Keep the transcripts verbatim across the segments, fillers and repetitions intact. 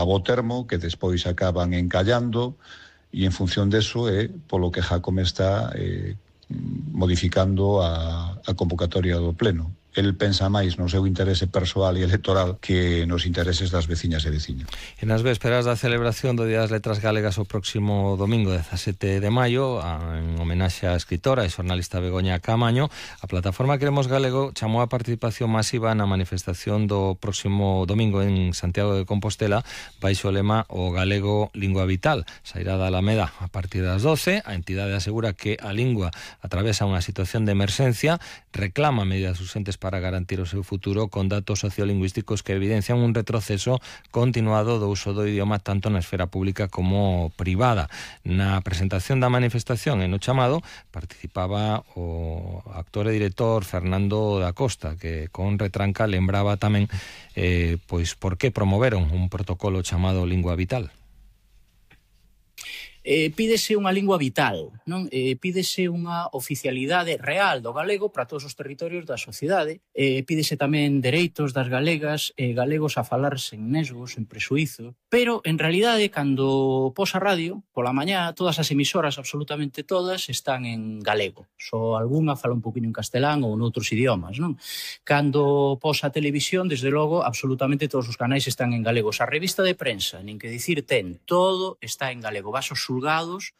a bo termo, que despois acaban encallando, e en función deso é polo que Jácome está eh, modificando a, a convocatoria do pleno. El pensa máis no seu interese persoal e electoral que nos intereses das veciñas e veciños. E nas vésperas da celebración do Día das Letras Galegas o próximo domingo dezasete de maio, en homenaxe á escritora e xornalista Begoña Caamaño, a plataforma Queremos Galego chamou a participación masiva na manifestación do próximo domingo en Santiago de Compostela baixo o lema O Galego Lingua Vital. Sairá da Alameda a partir das doce. A entidade asegura que a lingua atravesa unha situación de emerxencia, reclama medidas urxentes para garantir o seu futuro con datos sociolingüísticos que evidencian un retroceso continuado do uso do idioma tanto na esfera pública como privada. Na presentación da manifestación e no chamado participaba o actor e director Fernando da Costa, que con retranca lembraba tamén eh, pois por que promoveron un protocolo chamado Lingua Vital. Eh, pídese unha lingua vital, non? Eh, pídese unha oficialidade real do galego para todos os territorios da sociedade, eh, pídese tamén dereitos das galegas e eh, galegos a falar sen nesgos, sen presuízo, pero en realidade cando pos a radio, pola mañá, todas as emisoras, absolutamente todas, están en galego, só algunha fala un poquinho en castelán ou noutros idiomas, non? Cando pos a televisión, desde logo, absolutamente todos os canais están en galegos. A revista de prensa, nin que dicir ten, todo está en galego, vas aos xulgados,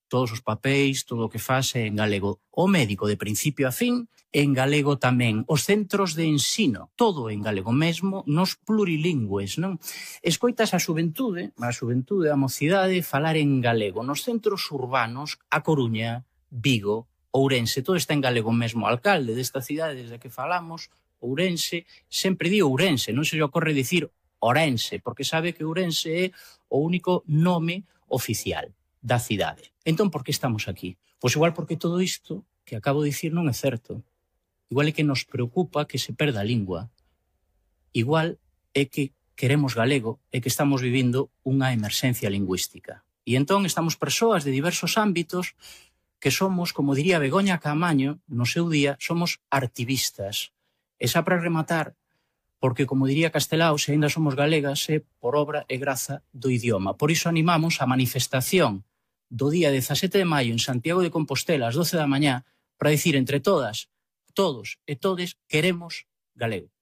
todos os papéis, todo o que fase en galego. O médico de principio a fin, en galego tamén. Os centros de ensino, todo en galego mesmo, nos plurilingües, non? Escoitas a xuventude, a xuventude, a mocidade, falar en galego. Nos centros urbanos, A Coruña, Vigo, Ourense, todo está en galego mesmo. O alcalde desta cidade desde que falamos, Ourense, sempre di Ourense, non se lle ocorre dicir Orense, porque sabe que Ourense é o único nome oficial da cidade. Entón, por que estamos aquí? Pois igual porque todo isto que acabo de dicir non é certo. Igual é que nos preocupa que se perda a lingua. Igual é que queremos galego e que estamos vivindo unha emerxencia lingüística. E entón estamos persoas de diversos ámbitos que somos, como diría Begoña Caamaño, no seu día, somos artivistas. E xa para rematar, porque, como diría Castelao, se ainda somos galegas, é por obra e graza do idioma. Por iso animamos a manifestación do día dezasete de maio en Santiago de Compostela ás doce da mañá para dicir entre todas, todos e todes queremos galego.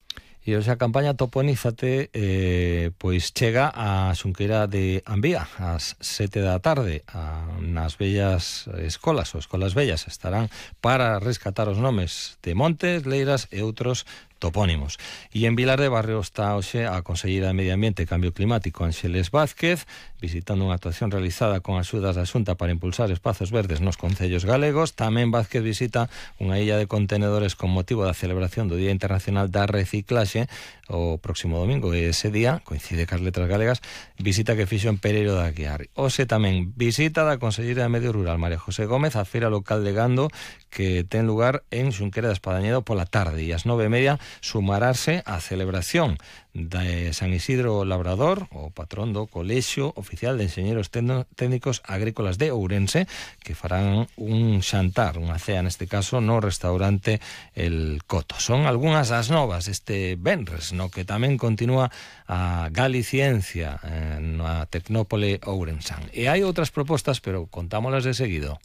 E hoxe a campaña Toponízate eh, pois chega a Xunqueira de Ambía ás sete da tarde. A, nas bellas escolas, ou escolas bellas, estarán para rescatar os nomes de montes, leiras e outros topónimos. E en Vilar de Barrio está hoxe a conselleira de Medio Ambiente e Cambio Climático, Ánxeles Vázquez, visitando unha actuación realizada con axudas da Xunta para impulsar espazos verdes nos concellos galegos. Tamén Vázquez visita unha illa de contenedores con motivo da celebración do Día Internacional da Reciclaxe o próximo domingo, e ese día coincide cas letras galegas, visita que fixo en Pereiro da Aguiar. Hoxe tamén visita da conselleira de Medio Rural, María José Gómez, a feira local de gando que ten lugar en Xunquera de Espadañedo pola tarde, e ás nove e media sumararse á celebración de San Isidro Labrador, o patrón do Colexio Oficial de Enxeñeros Técnicos Agrícolas de Ourense, que farán un xantar, unha cea neste caso, no restaurante El Coto. Son algunhas das novas este venres, no que tamén continúa a Galiciencia eh, na Tecnópole Ourensán. E hai outras propostas, pero contámolas de seguido.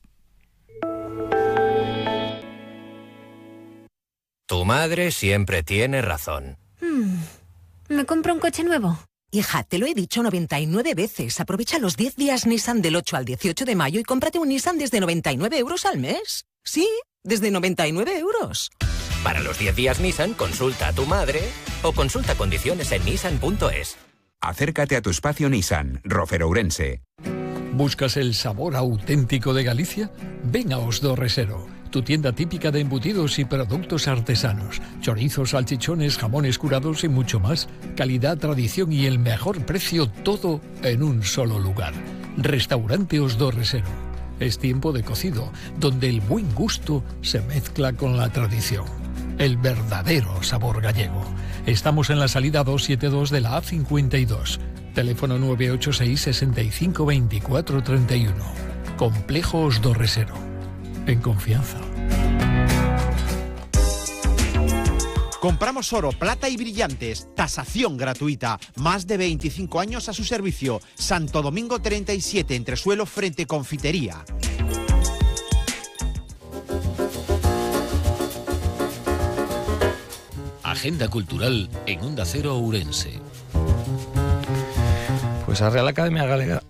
Tu madre siempre tiene razón. Hmm. ¿Me compro un coche nuevo? Hija, te lo he dicho noventa y nueve veces. Aprovecha los diez días Nissan del ocho al dieciocho de mayo y cómprate un Nissan desde noventa y nueve euros al mes. Sí, desde noventa y nueve euros. Para los diez días Nissan, consulta a tu madre o consulta condiciones en nissan punto es. Acércate a tu espacio Nissan, Rofer Ourense. ¿Buscas el sabor auténtico de Galicia? Ven a Os do Resero, tu tienda típica de embutidos y productos artesanos. Chorizos, salchichones, jamones curados y mucho más. Calidad, tradición y el mejor precio, todo en un solo lugar. Restaurante Os do Resero. Es tiempo de cocido, donde el buen gusto se mezcla con la tradición. El verdadero sabor gallego. Estamos en la salida doscientos setenta y dos de la A cincuenta y dos. Teléfono nueve ocho seis, seis cinco, veinticuatro treinta y uno. Complejo Os do Resero. En confianza. Compramos oro, plata y brillantes. Tasación gratuita. Más de veinticinco años a su servicio. Santo Domingo treinta y siete, entresuelo frente Confitería. Agenda cultural en Onda Cero Ourense. Pois a Real Academia Galega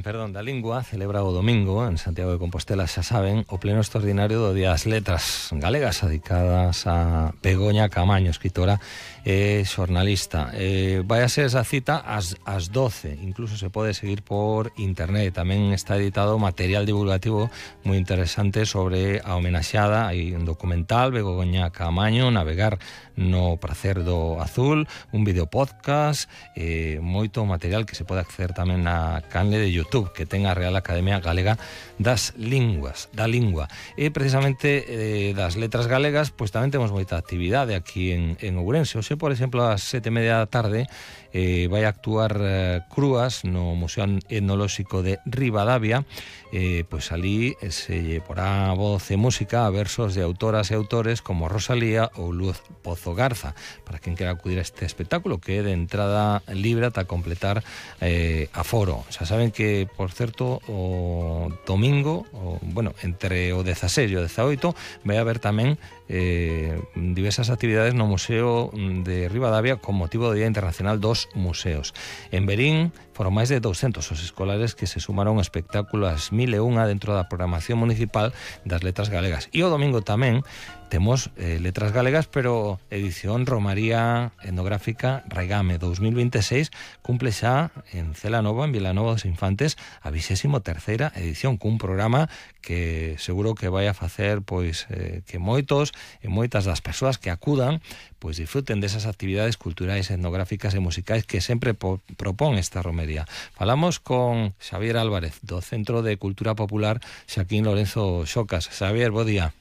perdón, da Lingua celebra o domingo en Santiago de Compostela, xa saben, o pleno extraordinario do Día das Letras Galegas, dedicadas a Begoña Camaño, escritora e xornalista. Eh, vai a ser esa cita ás, ás doce, incluso se pode seguir por internet. Tamén está editado material divulgativo moi interesante sobre a homenaxeada. Hai un documental, Begoña Camaño, Navegar no Pracer do Azul, un videopodcast, eh, moito material que se pode acceder tamén na canle de YouTube que ten a Real Academia Galega das Linguas, da Lingua. E precisamente eh, das letras galegas, pois tamén temos moita actividade aquí en, en Ourense. Hoxe, por exemplo, ás sete e media da tarde eh, vai actuar eh, Crúas no Museo Etnolóxico de Ribadavia. Eh, pois ali se lle porá voz e música a versos de autoras e autores como Rosalía ou Luz Pozo Garza, para quen quera acudir a este espectáculo, que é de entrada libre ata completar eh, aforo. Xa saben que, por certo, o domingo, o, bueno, entre o dezaseis e o dezaoito, vai haber tamén eh, diversas actividades no Museo de Ribadavia con motivo do Día Internacional dos Museos. En Verín foron máis de douscentos os escolares que se sumaron ao espectáculo ás mil e unha dentro da programación municipal das letras galegas. E o domingo tamén temos eh, letras galegas, pero edición Romaría Etnográfica Raigame dous mil veintiséis cumple xa en Celanova, en Vilanova dos Infantes, a vixésimo terceira edición, cun programa que seguro que vai a facer pois eh, que moitos e moitas das persoas que acudan pois disfruten desas actividades culturais, etnográficas e musicais que sempre po- propón esta romería. Falamos con Xavier Álvarez, do Centro de Cultura Popular Xaquín Lorenzo Xocas. Xavier, bo día.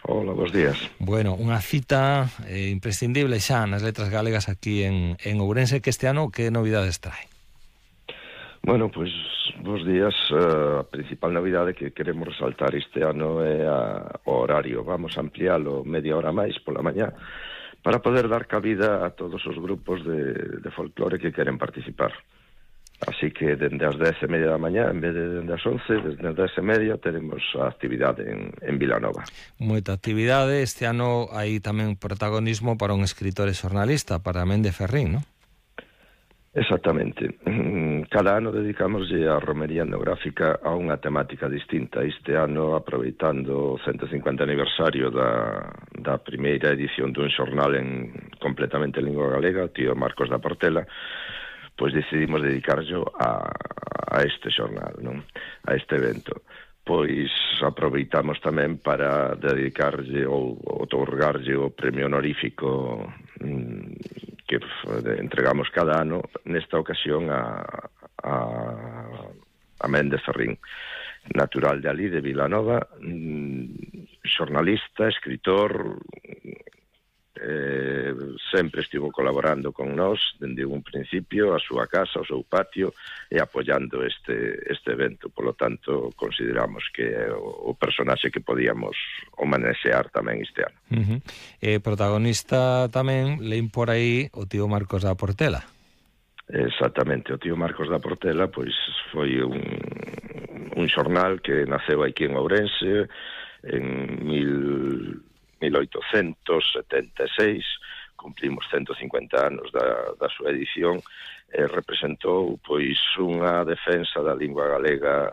Hola, bons días. Bueno, unha cita eh, imprescindible xa nas letras galegas aquí en, en Ourense, que este ano que novidades trae? Bueno, pois, bons días. Uh, a principal novidade que queremos resaltar este ano é a, o horario. Vamos a ampliálo media hora máis pola mañá para poder dar cabida a todos os grupos de, de folclore que queren participar. Así que dende as dez e media da mañá, en vez de dende as once, desde as dez e media teremos a actividade en, en Vilanova. Moita actividade. Este ano hai tamén protagonismo para un escritor e xornalista, para Méndez Ferrín, non? Exactamente. Cada ano dedicamoslle a romería etnográfica a unha temática distinta. Este ano, aproveitando o ciento cincuenta aniversario da, da primeira edición dun xornal en completamente en lingua galega, o tío Marcos da Portela, pois decidimos dedicarlo a, a este xornal, non? A este evento. Pois aproveitamos tamén para dedicarlle ou outorgarlle o premio honorífico mm, que entregamos cada ano, nesta ocasión a, a, a Méndez Ferrín, natural de ali, de Vilanova, mm, xornalista, escritor, eh, sempre estivo colaborando con nós dende un principio, a súa casa, o seu patio, e apoiando este, este evento. Por lo tanto, consideramos que é o, o personaxe que podíamos homenaxear tamén este ano. Uh-huh. Eh, protagonista tamén, leín por aí, o tío Marcos da Portela. Exactamente, o tío Marcos da Portela pois foi un, un xornal que naceu aquí en Ourense en mil... mil oitocentos setenta e seis, cumplimos ciento cincuenta anos da, da súa edición, e representou pois unha defensa da lingua galega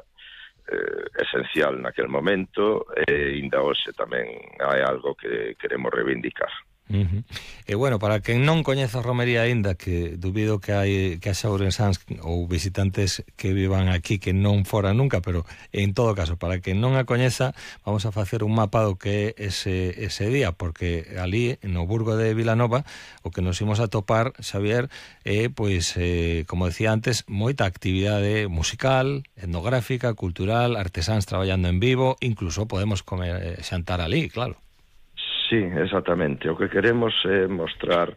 eh, esencial naquel momento, e ainda hoxe tamén hai algo que queremos reivindicar. Uh-huh. E bueno, para quen non coñeza a romería aínda, que dubido que hai que haxa ourensáns ou visitantes que vivan aquí que non foran nunca, pero en todo caso, para quen non a coñeza, vamos a facer un mapa do que é ese, ese día, porque ali no Burgo de Vilanova o que nos imos a topar, Xavier, é, pois, eh, como decía antes, moita actividade musical, etnográfica, cultural, artesáns traballando en vivo, incluso podemos comer, xantar ali, claro. Sí, exactamente. O que queremos é mostrar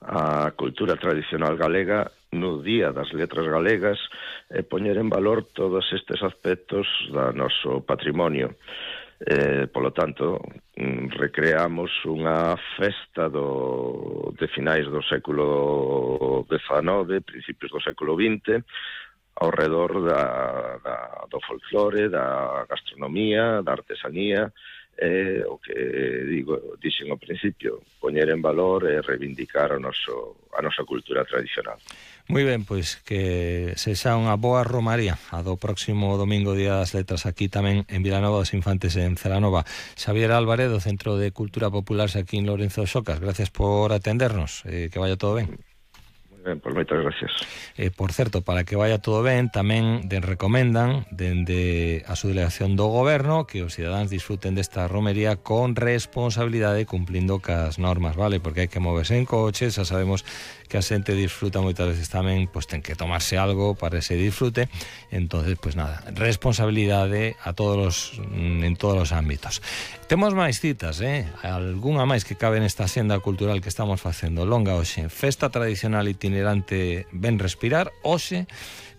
a cultura tradicional galega no Día das Letras Galegas e poñer en valor todos estes aspectos da noso patrimonio. Eh, polo tanto, recreamos unha festa do, de finais do século dezenove, principios do século vinte, ao redor da, da, do folclore, da gastronomía, da artesanía, eh, o que digo, dixen ao principio, poñer en valor e reivindicar o noso, a nosa cultura tradicional. Moi ben, pois que sexa unha boa romaría a do próximo domingo, Día das Letras, aquí tamén en Vilanova dos Infantes, en Celanova. Xavier Álvarez, do Centro de Cultura Popular aquí en Lorenzo Xocas, gracias por atendernos, eh, que vaya todo ben. Ben, pois moitas gracias. Eh, por certo, para que vaya todo ben, tamén de recomendan dende a subdelegación do Goberno que os cidadáns disfruten desta romería con responsabilidade, cumplindo cas normas, vale? Porque hai que moverse en coches, xa sabemos que a xente disfruta moitas veces tamén, pois ten que tomarse algo para ese disfrute. Entonces, pois nada, responsabilidade a todos os, en todos os ámbitos. Temos máis citas, eh? Algunha máis que cabe nesta senda cultural que estamos facendo. Longa hoxe, festa tradicional itinerante Ben Respirar, hoxe,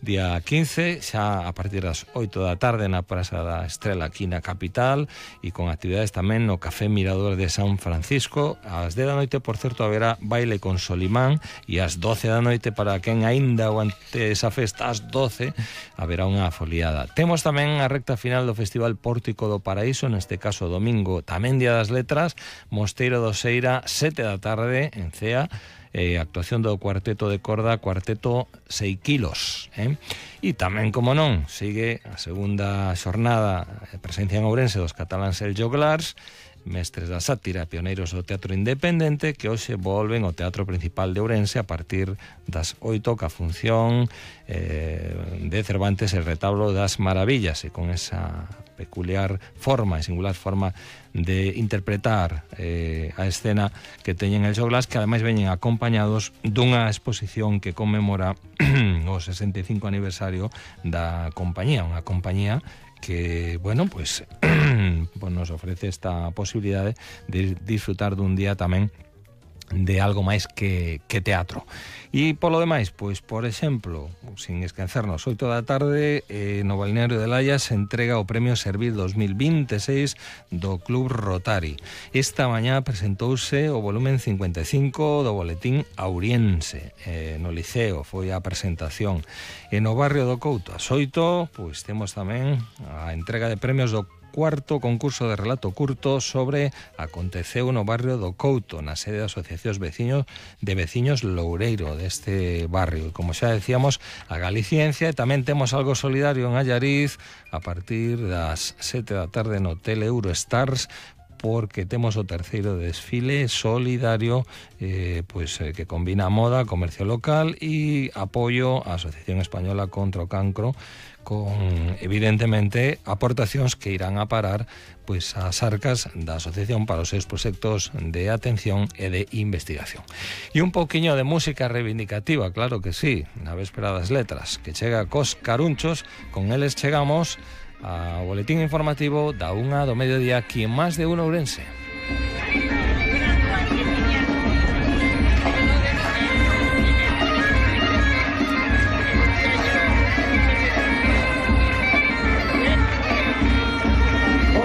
día quince, xa a partir das oito da tarde na Praza da Estrela aquí na capital, e con actividades tamén no Café Mirador de San Francisco. Ás dez da noite, por certo, haberá baile con Solimán, e ás doce da noite, para quen aínda aguante esa festa, ás doce haberá unha foliada. Temos tamén a recta final do Festival Pórtico do Paraíso, neste caso domingo, tamén Día das Letras, Mosteiro do Seira, sete da tarde en Cea, Eh, actuación do cuarteto de corda Cuarteto seis kilos, eh? E tamén, como non, sigue a segunda xornada de presencia en Ourense dos cataláns El Joglars, mestres da sátira, pioneiros do teatro independente, que hoxe volven ao Teatro Principal de Ourense a partir das oito, ca función eh, de Cervantes, El Retablo das Maravillas, e con esa peculiar forma e singular forma de interpretar eh, a escena que teñen El Joglars, que ademais veñen acompañados dunha exposición que conmemora o sesenta e cinco aniversario da compañía, unha compañía que, bueno, pues, pues nos ofrece esta posibilidade de disfrutar dun día tamén de algo máis que, que teatro. E polo demais, pois, por exemplo, sin esquecernos, oito da tarde eh, no Balneario de Laia se entrega o Premio Servir dos mil veintiséis do Club Rotary. Esta mañá presentouse o volumen cincuenta e cinco do Boletín Auriense, eh, no Liceo, foi a presentación. E no barrio do Couto, ás oito, pois temos tamén a entrega de premios do cuarto concurso de relato curto sobre aconteceu no barrio do Couto, na sede da Asociación Veciños de Veciños Loureiro deste barrio. E como xa decíamos, a Galiciencia, e tamén temos algo solidario en Allariz a partir das sete da tarde no Hotel Eurostars, porque temos o terceiro desfile solidario eh, pues, eh, que combina moda, comercio local e apoio á Asociación Española contra o Cancro, con, evidentemente, aportacións que irán a parar pois ás arcas da Asociación para os seus proxectos de atención e de investigación. E un pouquiño de música reivindicativa, claro que sí, na véspera das letras, que chega cos carunchos. Con eles chegamos ao boletín informativo da unha do mediodía aquí en Más de Uno Ourense.